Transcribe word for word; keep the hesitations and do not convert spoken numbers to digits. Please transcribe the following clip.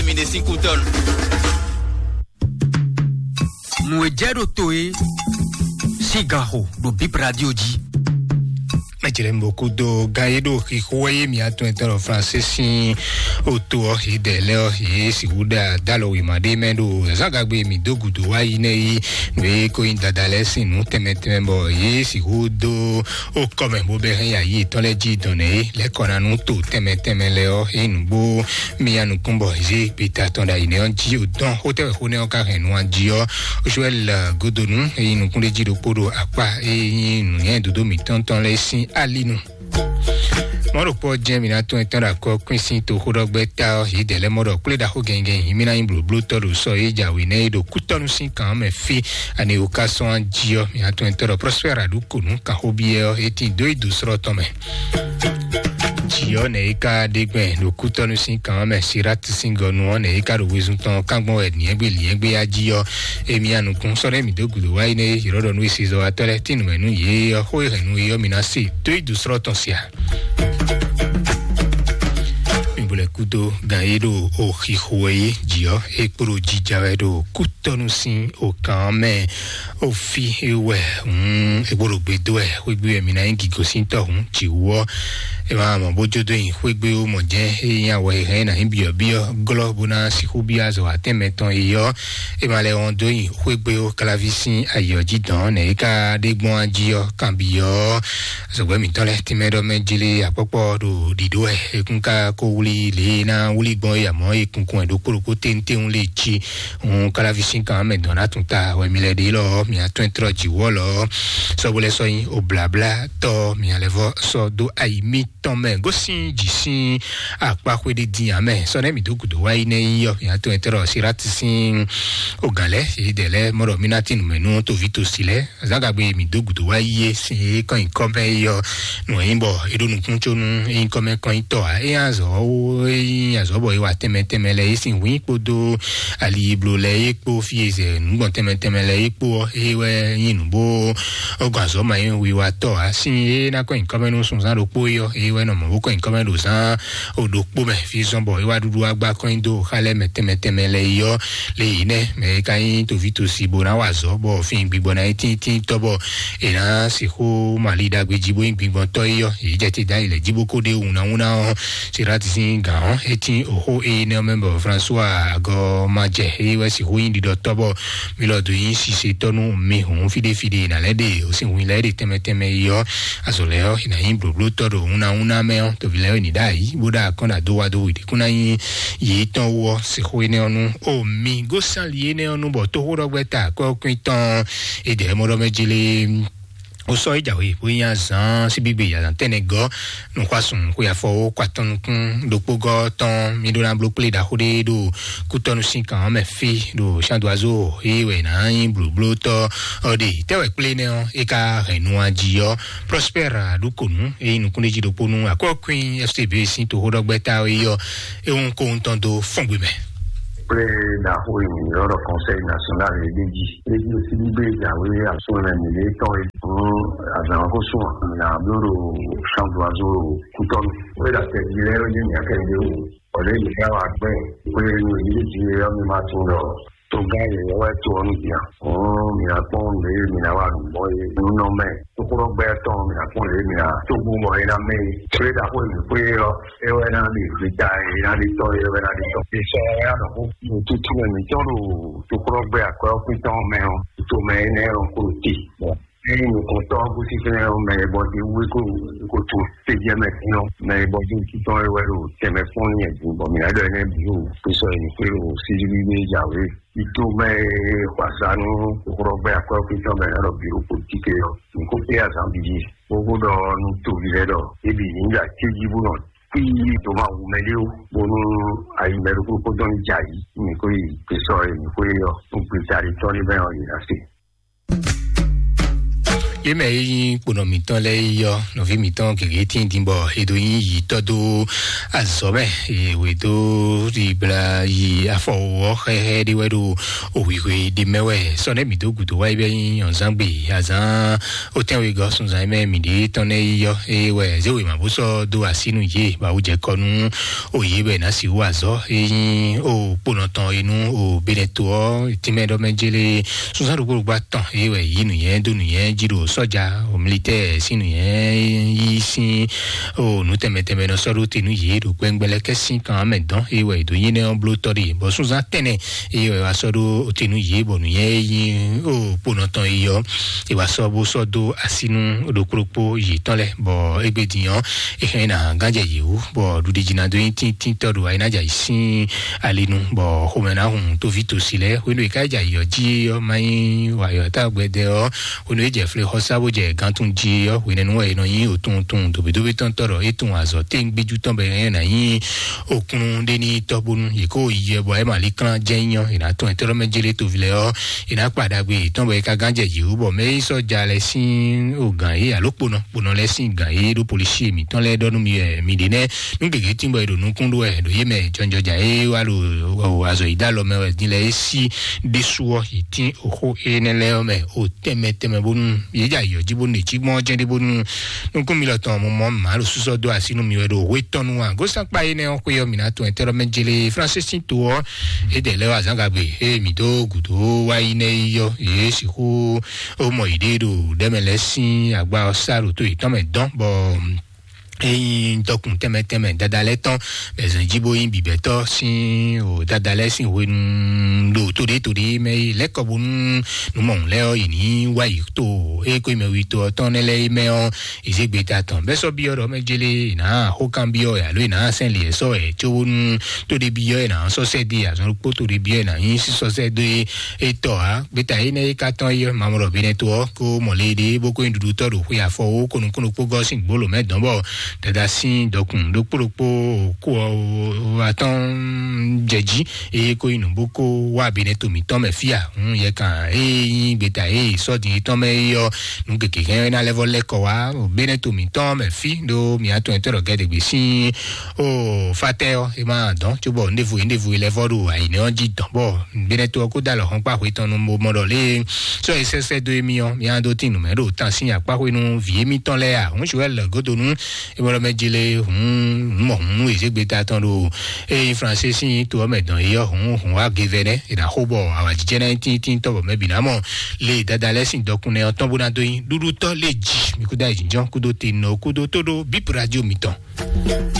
Mi ɖe sín kútɔ́nu. Nǔ e jɛ ɖo to e sín gan xo ɖo Bib Radio jí. Mɛjlɛ mo kúdó gan e ɖo xixo wɛ yé mi atɔn etɔn ɖo Fransé sín oto ɔ́, yě dɛ lɛ ɔ́, yě sixú ɖe adalɔ wěma ɖé mɛ ɖo zǎgagbe mi dó gǔdo wá yi nɛ yi nǔ e ko nyí dada lɛ́ɛ sín nǔ tɛnmɛ tɛnmɛ bɔ yě sixú dó ó kɔ mɛ bó bɛ hɛn yi ayi yětɔn lɛ́ɛ jí dɔn nɛ é lɛ́ kɔ ná nú to tɛnmɛ tɛnmɛ lɛ ɔ́, é nǔgbó mi ya nukún bɔ zé gbeta tɔn ɖo ayǐ nɛ ɔ́ jí o dɔn xó tɛ́ wɛ xó nɛ́ ɔ́ ka hɛn nu a jí ɔ́, Joel Godonu e nyí nukúnɖéjí ɖokpó ɖo akpá e nyí nǔnywɛ́ dodó mǐtɔn tɔn lɛ́ɛ sín alinu. Mɔ̌ ɖokpó ɔ́ jɛ́n mǐ ná tún etɔ́n ɖo akɔ kwín sín toxóɖɔgbɛ́ ta ɔ́, yě dɛ lɛ́ mɔ ɖɔ kplé ɖaxó gɛngɛn yǐ mí ná nyí blǒblótɔ́ ɖo sɔ e jǎwe nɛ́ é ɖo kútɔ́nú sín kan ɔ́ mɛ fí, ani wǒ ká sɔ́ jí ɔ́, mǐ ná tún etɔ́n ɖɔ Prospère Aɖukonu kanxóbyɔ́ ɔ́, é tín dó yi dǒ slɔ́ tɔn mɛ. Jǐ ɔ́ nɛ̌ é ka ɖe gbɛn ɖo kútɔ́nú sín kan ɔ́ mɛ, Sirátu sín gɔnu ɔ́ nɛ̌ é ka ɖo wezun tɔn kángbɔn wɛ lyɛ̌ngbé lyɛ̌ngbé á jí ɔ́, émí anukún sɔ́ ɖé mǐ dó gǔdo wá yi nɛ́ yě ɖɔ ɖɔ nú esezɔ́watɔ́ lɛ́ɛ tín nǔmɛ nú yě ɔ́, xó e hɛn nú yě ɔ́, mi ná se dó yi dǒ slɔ́ tɔn sia. Mi bo lɛ kúdó gan e ɖo oxixo wɛ é jí ɔ́, é kpo ɖo jija wɛ ɖo kútɔ́nú sín okan ɔ́ mɛ. Ofi e wɛ hun e kpo ɖo gbe dó wɛ xwégbé wɛ mi ná nyí gǐgosíntɔ́ hun jǐwú ɔ́. É ma mɔ bó jó dó nyi xwégbé ó mɔ jɛ́n é nyí awɛ e hɛn ná nyí byɔ̌byɔ́ glɔ́ bó ná sixú byɔ́ azɔ̌ atɛ́nmɛ tɔn é ɔ́. É ma lɛ wɔn dó nyi xwégbé ó kláví sín ayǐ ɔ́ jí dɔn nɛ̌ é ka ɖe gbɔn á jí ɔ́, kanbyɔ́ zɔ̌gbɛ́ mǐtɔn lɛ́ɛ tínmɛ ɖɔ mɛ jlé akpɔ́kpɔ́ ɖo ɖiɖó wɛ. É kún ka kó wlí lě e ná wlí gbɔn é amɔ̌ é kunkun wɛ ɖokpó ɖokpó téńtéún lě jí. Hun kalavi sín kan mɛ dɔn ná tún ta wɛ mi lɛ ɖe lɔ mi atɔn trɔ jǐwɔ lɔ sɔgbo lɛ sɔ nyi oblabla tɔ mi alɛ vɔ sɔ do ayi mi tɔn mɛ gosin jì sín akpa xwe ɖe din amɛ sɔ nɛ mi do gudo wa yi nɛ yi yɔ mi atɔn trɔ sirati sín ogan lɛ yi dɛ lɛ mɔɖɔ mi na tin mɛ nu tovi tosi lɛ zagagbe mi do gudo wa yi ye sin ye kɔn yi kɔ mɛ yi yɔ nɔ yi bɔ eɖo nukun tso nu yi kɔ mɛ kɔn yi tɔ a eya azɔ wo eyi azɔ bɔ yi wa tɛmɛ tɛmɛ lɛ yi sin wi kpodo ali blo lɛ yi kpo fi ezɛ nugbɔn tɛmɛ tɛmɛ lɛ yi kpo eye wɛ yi nu bo ogun azɔ ma yi wi wa tɔ a sin ye na kɔn yi kɔ mɛ nu sunzan ɖokpo yi yɔ eye wɛ nɔ mɔ bo kɔn yi kɔ mɛ ɖo zan o ɖokpo mɛ fi zɔn bɔ yi wa ɖuɖu agba kɔn yi do xa lɛ mɛ tɛmɛ tɛmɛ lɛ yi yɔ le yi nɛ mɛ yi ka yi tovi tosi bo na wa azɔ bɔ fi gbigbɔ na yi tin tin tɔ bɔ e na sixú mali ɖagbe jí bó nyí gbigbɔntɔ́ yi yɔ yi jɛ te da yi lɛ jí bó kó ɖe wuna wuna ɔ sirati sín gǎn ɔ eti oxó eye nɛ mɛ bɔ françois agɔ ma jɛ eye wɛ sixú nyí ɖiɖɔtɔ́ bɔ mi lɔ do nyí sisetɔ́ nú mi hǔn fiɖe fiɖe na lɛ ɖe o sin hu lɛ ɖe tɛmɛ tɛmɛ yi yɔ azɔ lɛ yɔ na nyí blóblótɔ́ ɖo wuna wuna mɛ ɔ tovi lɛ yɔ ni ɖa yi bó ɖa kɔn ɖa do wa do wì ɖe kún na nyí yi tɔn wɔ sixú yi nɛ ɔnu o mi gosali yi nɛ ɔnu bɔ toxó ɖɔgbɛ ta kɔkɔn tɔn e dɛ mɔ ɖɔ mɛ jele o sɔ yi jawe bó nya zan síbígbe ya zan tɛnɛ gɔ nukwasun kó ya fɔ wo kó atɔn nukún ɖokpó gɔ tɔn mi ɖó na bló kplé ɖaxó ɖé ɖo kútɔnu sín kan mɛ fí ɖo sandoazo yi wɛ na nyi blóblótɔ ɔɖe tɛwɛ kplé nɛ ɔ e ka hɛn nu aji ɔ prospère aɖukonu eyi nukún ɖé jí ɖokpó nu akɔkwin fcb sín toxó ɖɔgbɛ ta yi ɔ ehun kó ŋutɔn dó fɔngbe mɛ. Kple ɖaxó yi yɔrɔ conseil national e ɖe jí ɖe jí si ɖi be jawe asunlɛ mi ɖe tɔn e fún azan ko sún na blo ɖo sandoazo kutɔnu. Wé ɖa tɛ jí lɛ wé ní mi akɛ ɖe o. Ɔlɛ yi ká wa gbɛ wé ní yi ɖe jí yɔ mi ma tún lɔ. Toga yi yɔ wɛ to ɔnu bia. Ɔn mi akpɔn ɖe mi na wa nubɔ ye nunɔ mɛ. Tokorɔ gbɛ tɔn mi akpɔn ɖe mi na. Togun bɔ yi na mɛ yi. Kple ɖaxó yi mi kpé yɔ. Ewɛ na ɖi vita ena ɖi tɔ ewɛ na ɖi tɔ. Isɔ ya nɔ ko. Tutu mɛ mi tɔn ɖo tokorɔ gbɛ akɔ ɔkun tɔn mɛ ɔ. Tutu mɛ enɛ ɔ ko ti. Eyi nukɔntɔ ko si fɛnɛ ɔ mɛ bɔ ti wu ko ko tu. Tejɛ mɛ ti nɔ mɛ bɔ ti ti tɔn ewɛ ɖo tɛmɛ fún yɛ dun bɔ mi na ɖɔ enɛ bi o. Isɔ yi mi kpé ɖo sisi bi be jawe. Ito mɛ xɔasanu xɔxɔgbɛ akɔyɔkpitɔ mɛ nɔ biro politiki yɔ. Nko pe azan bidi. Gbogbo dɔ nu tovi lɛ dɔ. Ebi ni ya tseji bu nɔ. Kpi to ma wu mɛ de o. Bonu ayi mɛ ɖokpo kpo dɔn ja yi. Niko yi kesɔ yi niko yi yɔ. Nugbe tari tɔ ni bɛ yɔ yi na se. Yé mɛ e nyí kponɔ mǐtɔn lɛ́ɛ yi ɔ́, nɔví mǐtɔn gěgé tíin din bɔ è dó nyí yǐtɔ́ dó azɔ̌ mɛ, è wě dó ɖibla yi afɔ ɔ́ xɛxɛ ɖé wɛ ɖo òhwihwe ɖé mɛ wɛ. Sɔ nɛ́ mǐ dó gǔdo wá yi bɛ nyí nyɔ̌nzán gbe azán ó tɛ́nwe gɔ́ sunzan mɛ mǐ ɖě tɔn nɛ́ yi ɔ́, eye wɛ zéwe mǎ bó sɔ́ dó así nú yě bɔ awu jɛ kɔ nú òye wɛ ná sixú azɔ̌ e nyí o kponɔ tɔn e nú o Benɛto ɔ́ tínmɛ ɖɔ mɛ jélé sunzán ɖokpó ɖokpó atɔn e wɛ yí nǔnyɛ dó nǔnyɛ jí ɖo sɔ́ja o militɛ́ɛ sín nǔnyɛ yí sín o nǔ tɛnmɛ tɛnmɛ nɔ sɔ́ ɖó te nú yě ɖo gbɛngbɛlɛ kɛ́ sín kan mɛ dɔn e wɛ è dǒ nyí nɛ́ ɔ́ bló tɔ́ ɖe bɔ sunzán tɛnɛ e wɛ wá sɔ́ ɖó te nú yě bɔ nǔnyɛ e nyí o kponɔ tɔn e yɔ e wá sɔ́ bó sɔ́ dó así nú ɖokpó ɖokpó yětɔn lɛ́ɛ bɔ égbé din ɔ́ é hɛn ná gánjɛ yě wú bɔ ɖuɖi jí ná dó nyí tíntíntɔ́ ɖo ayinájà yìí sín ali nu bɔ xomɛ ná hun tóví tosi lɛ́ɛ hwenu e ká jɛ ayǐ ɔ́ jí ɔ́ má nyí wayɔ tá gbɛdɛ ɔ́ hwenu e jɛ flé xɔsá bó jɛ gantun jí ɔ́ hwenɛ́nu wɛ è nɔ nyí òtúntún dòbídòbí tɔn tɔ́ ɖɔ é tún azɔ̌ téńgbéjú tɔn bɛ é ná nyí òkun ɖé ní tɔ́ bónú yě kó yi ɛ bɔ é ma lí klán jẹ́ nyɔ è nǎ tɔn ɛ tɔ́ mɛ jélé toví lɛ ɔ́ è nǎ kpa ɖagbe yětɔn bɔ é ka gán jɛ yě wú bɔ mɛ é sɔ́ ja lɛ sín o gǎn é alo kponɔ kponɔ lɛ sín gǎn é ɖó polisi mǐtɔn lɛ́ɛ ɖɔ nú mi wɛ mi ɖě nɛ́ nú gěgé tín bɔ è ɖo nukún ɖó wɛ ɖo yé mɛ jɔnjɔja é wá ɖo azɔ yí dá lɔ mɛ wɛ dín lɛ é sí ɖésú ɔ́ yě tín oxó énɛ́ lɛ́ɛ ɔ́ mɛ o tɛnmɛ tɛnmɛ bónú yě jɛ ayǐ ɔ́ jí bónú è cí gbɔn ɔ́ jɛ́n ɖé bónú nukún mi lɔ tɔn mo mɔ mǎ ɖo súsɔ dó así nú mi wɛ ɖo hwé tɔn nú agósánkpá énɛ́ ɔ́ xwé ɔ́ mi ná tɔn ɛtɛ́ lɔ mɛ jélé Francis sín to ɔ́ é dɛ lɛ́ wá zǎngagbe ée mi dó gǔdo wá yi nɛ́ yi ɔ́ yě sixú ó mɔ yě ɖée ɖo ɖɛ́mɛ lɛ́ɛ sín agba ɔ́ sá ɖo tó yětɔn mɛ dɔn bɔ eyin dɔkun tɛmɛ tɛmɛ dada lɛ tɔn bɛzɛn jí bó yin bibɛtɔ sín o dada lɛ sín hwenu ɖo toɖé toɖé mɛ yi lɛkɔ bónú numɔhun lɛ ɔ yi ní wá yi to eko yi mɛ wi to ɔtɔn nɛ lɛ yi mɛ ɔ ezegbe ta tɔn bɛ sɔ biɔ ɖɔ mɛ jele ina hokan biɔ alo ina sɛn liɛ sɔ ɛ tso bónú toɖé biɔ ina sɔ sɛ di azɔn kpó toɖé biɔ ina yin sísɔ sɛ do etɔ a gbeta yi nɛ yi ka tɔn yi mamrɔ bi nɛ to ɔ ko mɔlɛ ɖe bó ko yin ɖuɖu tɔ ɖo xwe afɔ wo konu kunu kpó gɔ sín gbolo mɛ dɔn bɔ dada sín dɔkun ɖokpó ɖokpó kó ɔ atɔn jɛ jí eye kó yi nǔ bó kó wá bi nɛ to mǐtɔn mɛ fia hun yɛ kan eye nyi gbeta eye sɔdi tɔn mɛ yi ɔ nu keke hɛn na lɛ vɔ lɛ kɔ wá bi nɛ to mǐtɔn mɛ fi ɖo mǐ atɔn ɛtɔ ɖɔ gɛdɛgbɛ sín o fatɛ ɔ e ma dɔn tso bɔ ndevo ndevo lɛ vɔ ɖo ayi nɛ ɔ jí dɔn bɔ bi nɛ to ɔ kó da lɔ hɔn kpa hwe tɔn nu mo mɔ ɖɔ lé sɔ yi sɛsɛ do emi ɔ mía ɖó tin nǔmɛ ɖo tan sín akpáxwenu vǐ émítɔn lɛ́ɛ a hun suwɛ lɛ godo nu ebɔlɔ mɛ jele hun mɔ hun ezegbe ta tɔn ɖo eye franse sín to ɔmɛ dɔn eyɔ hun hun wa gevɛ nɛ ena xó bɔ awajijɛ nɛ tíntín tɔ bɔ mɛ bǐ ná mɔ le dada lɛ sín dɔkun nɛ ɔtɔn bó ná dó nyi ɖuɖu tɔ lé jì mi kúdó ayijijɔ kúdó te nɔ kúdó tó ɖó bíp radio mitɔn.